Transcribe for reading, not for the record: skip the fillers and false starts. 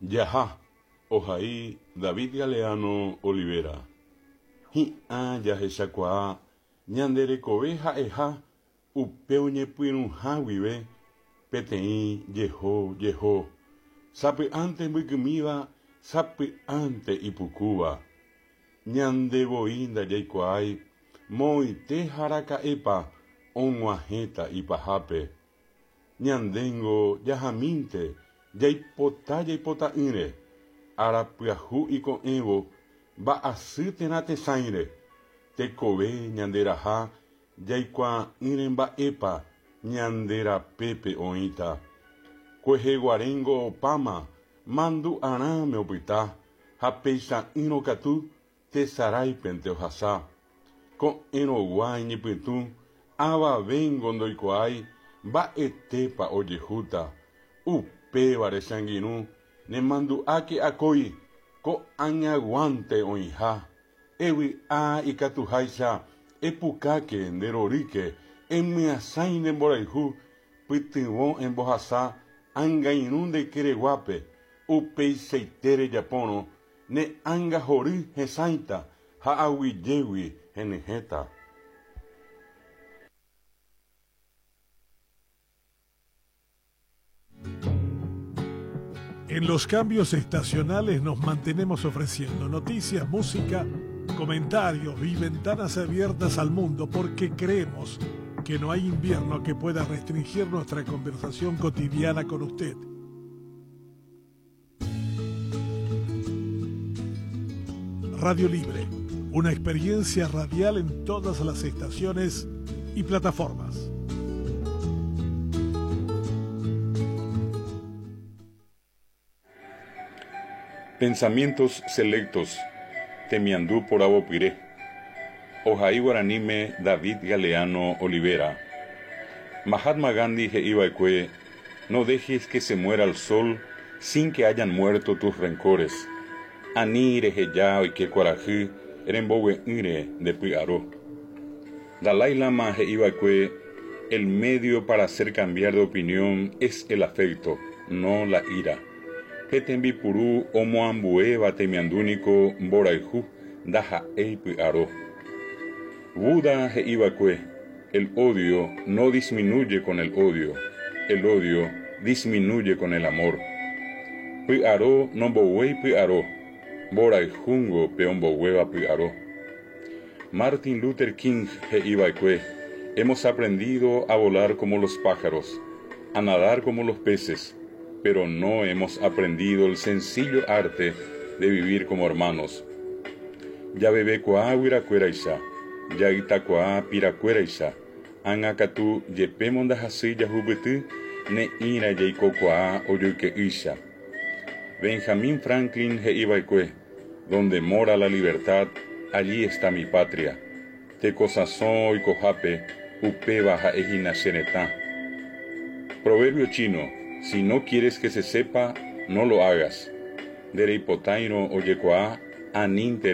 Jaha, ohai David Galeano Olivera. Hi'ã jahechakuaa ñande rekove ha'eha upe oñepyrũha guive peteĩ jeho jeho, sapy'ánte mbykymíva, sapy'ánte ipukúva. Ñande voi ndajaikuaái moõite ha araka'épa og̃uahẽta ipahápe. Ñandéngo jahamínte jaipota jaipota'ỹre, ára pyahu iko'ẽvo mba'asy térã tesãire, tekove ñande raha jaikuaa'ỹre mba'épa ñande rapépe oĩta. Kueheguaréngo opáma mandu'arãme opyta ha peicha'ỹrõ katu tesaráipente ohasa. Ko'ẽrõgua iñypytũ avavéngo ndoikuaái mba'etépa ojehúta. Upévare che angirũ nemandu'áke akói ko'ag̃aguánte oĩha. Evy'a ikatuháicha epukáke nde rorýke emyasãi ne mborayhu pytyvõ embohasa angairũ nde ykereguápe upeichaite rejapórõ Ne ánga hory hesãita ha aguyjégui henyhẽta. En los cambios estacionales nos mantenemos ofreciendo noticias, música, comentarios y ventanas abiertas al mundo porque creemos que no hay invierno que pueda restringir nuestra conversación cotidiana con usted. Radio Libre, una experiencia radial en todas las estaciones y plataformas. Pensamientos selectos Temiandu poravopyre Ohai guaraníme David Galeano Olivera Mahatma Gandhi he'iva'ekue No dejes que se muera el sol sin que hayan muerto tus rencores. Ani reheja oike kuarahy rembogue'ỹre nde py'aro. Dalai Lama he'iva'ekue, El medio para hacer cambiar de opinión es el afecto, no la ira. Pe tembipuru omoambuéva temiandu niko mborayhu, ndaha'éi py'aro. Buda he'iva'ekue, El odio no disminuye con el odio, el odio disminuye con el amor. Py'aro nomboguéi py'aro, mborayhúngo pe omboguéva py'aro. Martin Luther King he'iva'ekue, Hemos aprendido a volar como los pájaros, a nadar como los peces, pero no hemos aprendido el sencillo arte de vivir como hermanos. Javevekuaa guyrakuéraicha, jaytakuaa pirakuéraicha, ág̃a katu jepémo ndahasýi jahupyty ne'ĩra jaikokuaa ojoyke'ýicha. Benjamin Franklin he'iva'ekue, Donde mora la libertad, allí está mi patria. Tekosãso oikohápe, upéva ha'ehína che retã. Proverbio chino, Si no quieres que se sepa, no lo hagas. Ndereipotáirõ ojekuaa, anínte.